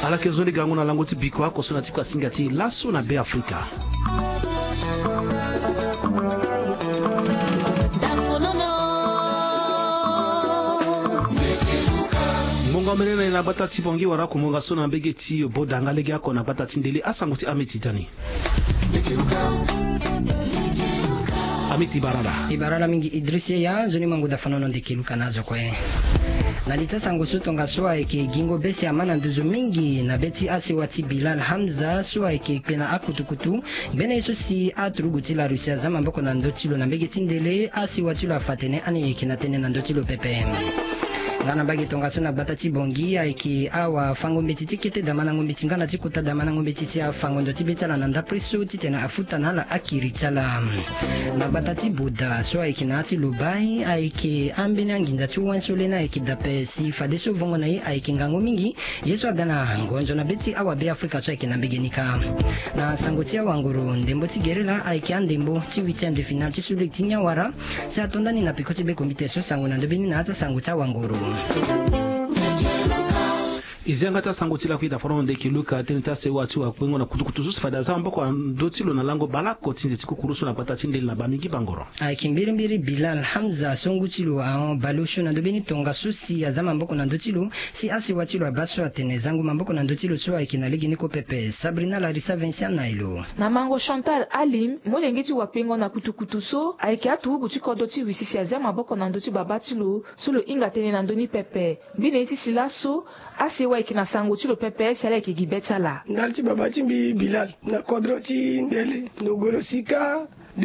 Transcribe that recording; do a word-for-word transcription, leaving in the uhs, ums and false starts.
Ala yeke zo ni gango na lango ti biko oko so na ti kua singa ti laso na be afrika. Ngonga omene na ye na gbata ti bongi wara kumonga so na mbege ti boda nga lege oko na gbata ti ndele asango ti ameti tani. Ameti barala. E barala mingi idris yeya nzoni mango dafanono ndeke luka na azo kue. Na li ti asango so tongaso ayeke gingo be si ama na nduzu mingi na be ti asewa ti bilal hamza so ayeke kpe na akutukutu. Mbene ye so si aturugu ti la russie aza maboko na ndö ti lo na mbege ti ndele asewa ti lo afa atene ani yeke na tënë na ndö ti lo pepe. Nga na mbage tongaso na gbata ti bongi ayeke awa fango mbeti ti kete damanango mbeti nga na ti kota damanango mbeti si afango ndo ti be ti ala na ndapre so titene afuta na ala akiri ti ala. Na gbata ti boda so ayeke na ya ti lobai ayeke ambeni anginza ti wen so leni ayeke dape si fadeso vongo na ye ayeke ngangu mingi. Ye so aga na ngonzo na be ti awabe afrika so ayeke na mbege ni kâ. Na sango ti awanguru ndembo ti gerela ayeke andembo ti huitième de finale ti sulege ti nyawara. Si atonda ni na peko ti be kombite so sango na ndö be ni na ya ti asango ti awanguru. E zi yanga ti asango ti lakui dafarongo ndeke luka tënë ti asewa ti wakpengo na kutukutu so si fade aza maboko na ndö ti lo na lango baleoko ti nze ti kukuru so na gbata ti ndele na bamingi bangoro. Ayeke mbirimbiri bilal hamza so ngu ti lo ahon baleosio na ndö be ni tongaso si aza maboko na ndö ti lo. Si asewa ti lo abaa so atene zango maboko na ndö ti lo so ayeke na legeni kue pepe sabrina larisa vincent na elo. Na mango chantal alim molenge ti wakpengo na kutukutu so ayeke aturugu ti kodro ti russie si azia maboko na ndö ti babâ ti lo so lo hinga tënë na ndö ni pepe. Mbi na ye ti si laso asewa ayeke na sango ti lo pepe si ala yeke gi be ti ala. Ndali ti babâ ti mbi bilal na kodro ti ndele nogolo sika.